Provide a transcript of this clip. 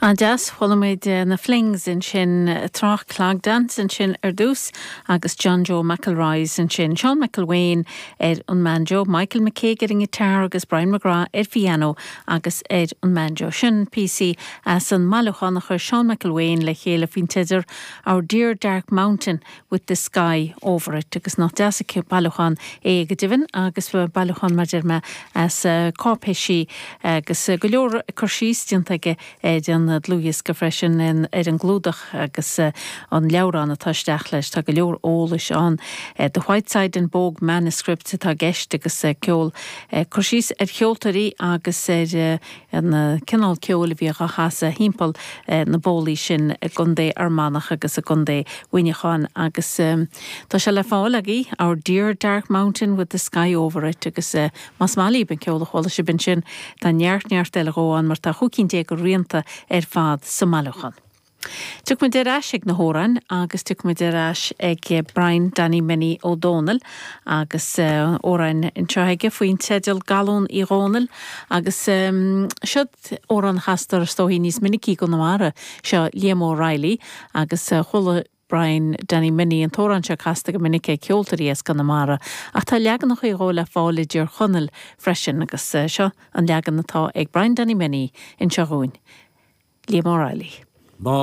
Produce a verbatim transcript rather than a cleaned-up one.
An-deas chuala muid na Flings ansin Trácht Clog Dance ansin ar dtús agus John Joe McElroy's ansin Sean McElwain ar an mbanjo, Michael McCaig ar an guitar agus Brian McGrath ar piano agus ar an mbanjo sin píosa as an mbailiúchán a chuir Sean McElwain le chéile faoin teideal Our Dear Dark Mountain with the Sky Over It agus nach deas an bailiúchán é go deimhin agus bailiúchán mar mé as cáipéisí agus go leor cur síos déanta aige ar an dlúthdhiosca freisin ar an gclúdach agus an leabhrán atá isteach leis tá go leor eolais ann. The Whiteside and Bogue Manuscript atá i gceist agus ceol cur síos ar cheoltóirí agus ar an cineál ceoil a bhí á chasadh timpeall na bólaí sin i gContae Fhear Manach agus i gContae Mhuineacháin agus tá sé le fáil agaibh Our Dear Dark Mountain with the Sky Over It agus más maith libh an ceol a chuala sibh ansin tá neart neart eile ann mar tá chúig cinn déag de rianta ar fad sa mbailiúchán. Tiocfaimid ar ais ag na hamhráin agus tiocfaimid ar ais ag Brian Danny Minnie Ó Dónaill agus amhrán anseo aige faoin teideal Galún Uí Dhónaill agus um, seo amhrán a chastar is dóichí níos minicí i gConamara seo Liam O'Reilly agus uh, chuala Brian Danny Minnie an t-amhrán seo casta go minic ag ceoltóirí as Conamara ach tá leaganacha dhó le fáil i dTír Chonaill freisin agus uh, seo an leagan atá ag Brian Danny Minnie anseo dhúinn. Liam O'Reilly. Má